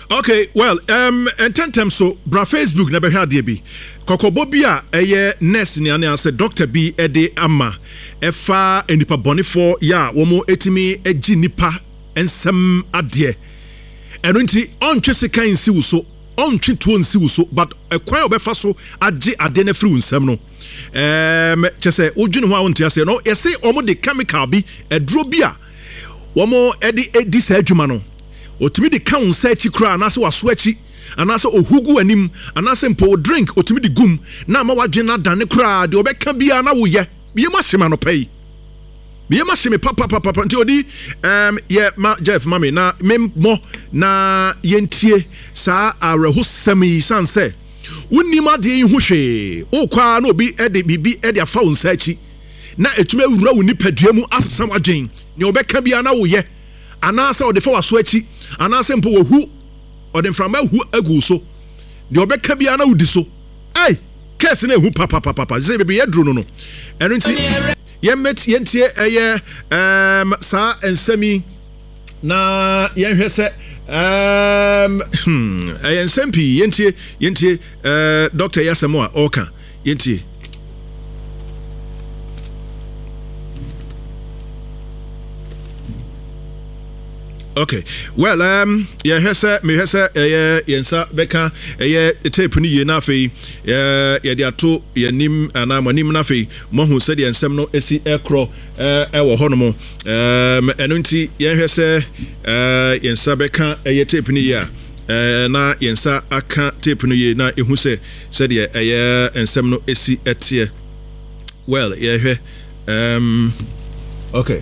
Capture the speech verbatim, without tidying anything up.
Okay, well, um, ntɛntɛm so bra Facebook na bɛhwɛ adeɛ bi. Kɔkɔbɔ bi a ɛyɛ nurse ne anaasɛ doctor bi de ama ɛfa nnipa bɔnefoɔ yɛ a wɔn ɛtumi gye nnipa nsɛm adeɛ. Ɛno nti ɔntwe sekan nsi wo so, ɔntwe tuo nsi wo so, but ɛkwan a ɔbɛfa so agye adeɛ no afiri wo nsam no, um, kyɛ sɛ wodwene ho a wonte aseɛ no. Yɛse wɔn de chemical bi, aduro bi a wɔn de di saa adwuma no, otumi de ka wo nsa akyi koraa, anaasɛ w'aso akyi, anaasɛ ohu gu w'anim, anaasɛ mpo wo drink otumi de gum na ama w'adwene no adane koraa, deɛ ɔbɛka biara na woyɛ. Meyɛ mu ahye me anɔpa yi, meyɛ mu ahye me papapapa. Nti odi um, yɛ ma Jeff ma me na memmɔ na yɛntie saa awerɛhosɛm yi, san sɛ wonnim adeɛ yi ho hwee. Wokɔ ara na obi de biribi de afa wo nsa akyi na ɛtumi awura wo nipadua mu asesa w'adwene, nea ɔbɛka biara na woyɛ, anaasɛ ɔde fa w'aso akyi, anaasɛ mpo wɔhu ɔde mframa ahu agu wo so, deɛ ɔbɛka biara na wodi so. Ei, kɛse no ehu papapapapa sɛ baabi yɛduru no no. Ɛno nti yɛmmɛt yɛntie ɛyɛ ɛɛm saa nsɛm yi na yɛnhwɛ sɛ ɛɛm hmm ɛyɛ nsɛm pii. Yɛntie yɛntie ɛɛ dɔkta yi asɛm a ɔreka, yɛntie. Okay, well, um, yɛhwɛ sɛ mehwɛ sɛ ɛyɛ yɛn nsa bɛka ɛyɛ tape no yie na afei yɛde ato yɛn anim anaa mo anim na afei moahu sɛdeɛ nsɛm no si ɛkorɔ ɛwɔ hɔnom. Ɛno nti yɛnhwɛ sɛ yɛn nsa bɛka ɛyɛ tape no yie a, na yɛn nsa aka tape no yie na ɛhu sɛ sɛdeɛ ɛyɛ nsɛm no si ɛteɛ. Well, yɛhwɛ um, okay.